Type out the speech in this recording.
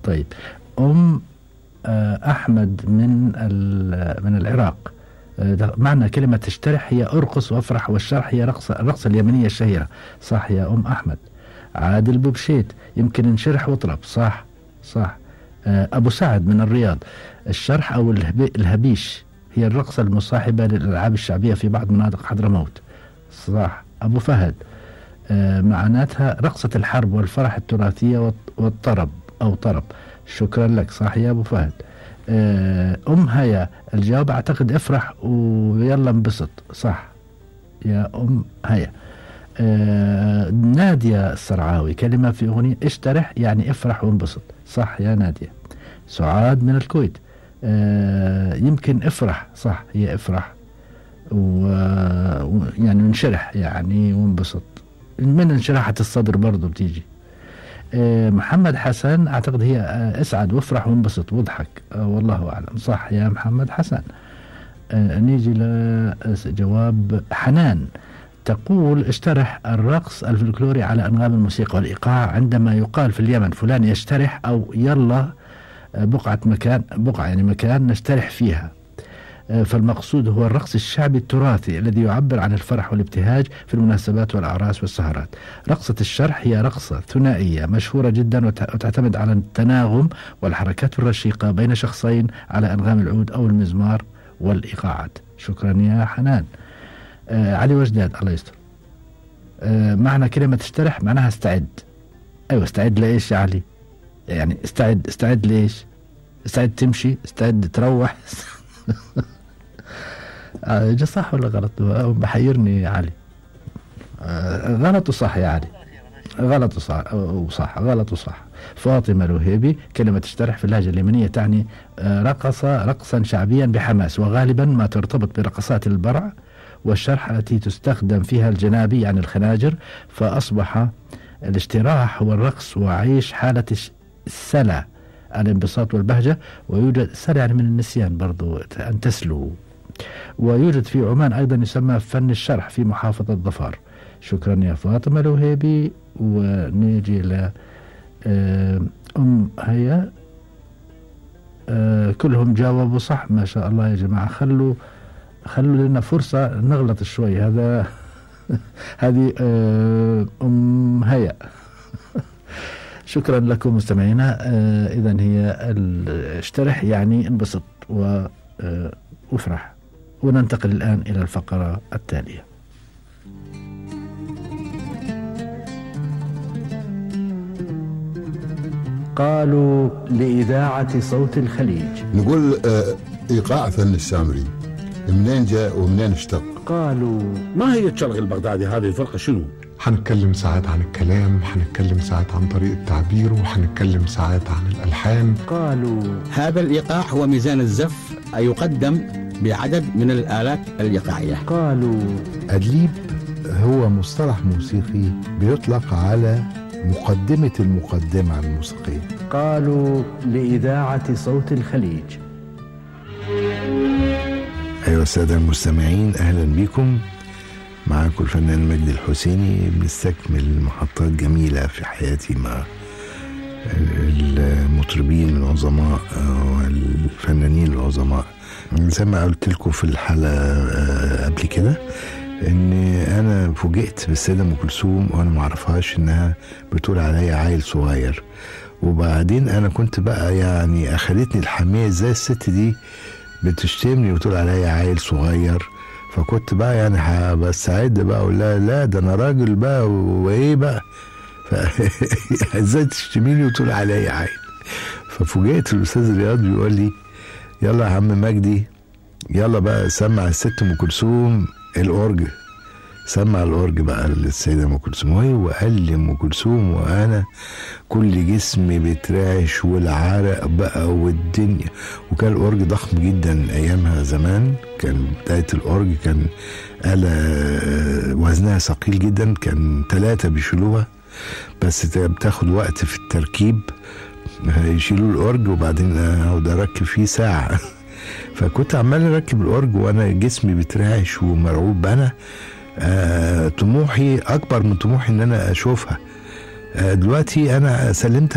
طيب، أحمد من العراق. معنى كلمة تشترح هي أرقص وأفرح، والشرح هي الرقصة اليمنية الشهيرة. صح يا أحمد. عادل بوبشيت، يمكن نشرح واطرب. صح. أبو سعد من الرياض، الشرح أو الهبيش هي الرقصة المصاحبة للألعاب الشعبية في بعض مناطق حضرموت. صح. أبو فهد، معناتها رقصة الحرب والفرح التراثية والطرب أو طرب. شكرا لك. صح يا أبو فهد. هيا، الجواب أعتقد افرح ويلا انبسط. صح يا هيا. نادية السرعاوي، كلمة في أغنية اشترح يعني افرح وانبسط. صح يا نادية. سعاد من الكويت، يمكن افرح. صح، هي افرح يعني نشرح يعني وانبسط، من انشراحة الصدر برضو بتيجي. محمد حسن، أعتقد هي اسعد وافرح وانبسط واضحك. والله أعلم. صح يا محمد حسن. نيجي لجواب حنان، تقول اشترح الرقص الفلكلوري على أنغام الموسيقى والإيقاع، عندما يقال في اليمن فلان يشترح أو يلا بقعة يعني مكان نشترح فيها. فالمقصود هو الرقص الشعبي التراثي الذي يعبر عن الفرح والابتهاج في المناسبات والأعراس والسهرات. رقصة الشرح هي رقصة ثنائية مشهورة جدا وتعتمد على التناغم والحركات الرشيقة بين شخصين على أنغام العود أو المزمار والإيقاعات. شكرا يا حنان. علي وجداد، الله يستر، معنى كلمة اشترح معناها استعد. أيوة، استعد لإيش يا علي؟ يعني استعد لإيش؟ استعد تمشي، استعد تروح. صح ولا غلط؟ بحيرني يا علي. غلط وصح يا علي. غلط وصح. فاطمة الوهيبي، كلمة تشترح في اللهجة اليمنية تعني رقصا شعبيا بحماس، وغالبا ما ترتبط برقصات البرع والشرح التي تستخدم فيها الجنابي يعني الخناجر. فأصبح الاشتراح هو الرقص وعيش حالة السلع، الانبساط والبهجة. ويوجد سلع يعني من النسيان برضو، أن تسلو. ويوجد في عمان أيضا يسمى فن الشرح في محافظة ظفار. شكرا يا فاطمة الوهيبي. ونيجي ل هيا، كلهم جاوبوا صح ما شاء الله يا جماعة. خلوا لنا فرصة نغلط شوي. هذه هيا. شكرا لكم مستمعينا. إذن هي اشترح يعني انبسط وافرح. وننتقل الآن إلى الفقرة التالية. قالوا لإذاعة صوت الخليج. نقول إيقاع فن السامري، منين جاء ومنين اشتق؟ قالوا ما هي الشرق البغدادي؟ هذه الفرقة شنو؟ حنتكلم ساعات عن الكلام، حنتكلم ساعات عن طريقة تعبيره، وحنتكلم ساعات عن الألحان. قالوا هذا الإيقاع هو ميزان الزف يقدم بعدد من الآلات الإيقاعية. قالوا أدليب هو مصطلح موسيقي بيطلق على مقدمة المقدمة الموسيقية. قالوا لإذاعة صوت الخليج. أيها السادة المستمعين، أهلا بكم. معكم الفنان مجدي الحسيني. بنستكمل محطات جميلة في حياتي مع المطربين العظماء والفنانين العظماء. زي ما قلت لكم في الحلقة قبل كده ان انا فوجئت بالسيدة ام كلثوم وانا ما اعرفهاش انها بتقول عليا عيل صغير. وبعدين انا كنت بقى يعني اخدتني الحمية ازاي الست دي بتشتمني وتقول عليا عيل صغير. فكنت بقى يعني بستعد بقى اقول لها لا ده انا راجل بقى وايه بقى ازاي تشتميني وتقول عليا عيل. ففوجئت الاستاذ رياض بيقول لي يلا يا عم مجدي، يلا بقى سمع الست ام كلثوم الأورج. سمع الأورج بقى للسيدة ام كلثوم. وقال لي ام كلثوم وانا كل جسمي بيترعش والعرق بقى والدنيا. وكان الأورج ضخم جدا ايامها زمان، كان بداية الأورج كان آلة وزنها ثقيل جدا، كان 3 بيشيلوها بس بتاخد وقت في التركيب. يشيلوا الأورج وبعدين اقعد اركب فيه ساعة. فكنت عمال اركب الأورج وانا جسمي بترعش ومرعوب. انا طموحي اكبر من طموحي ان انا اشوفها. دلوقتي انا سلمت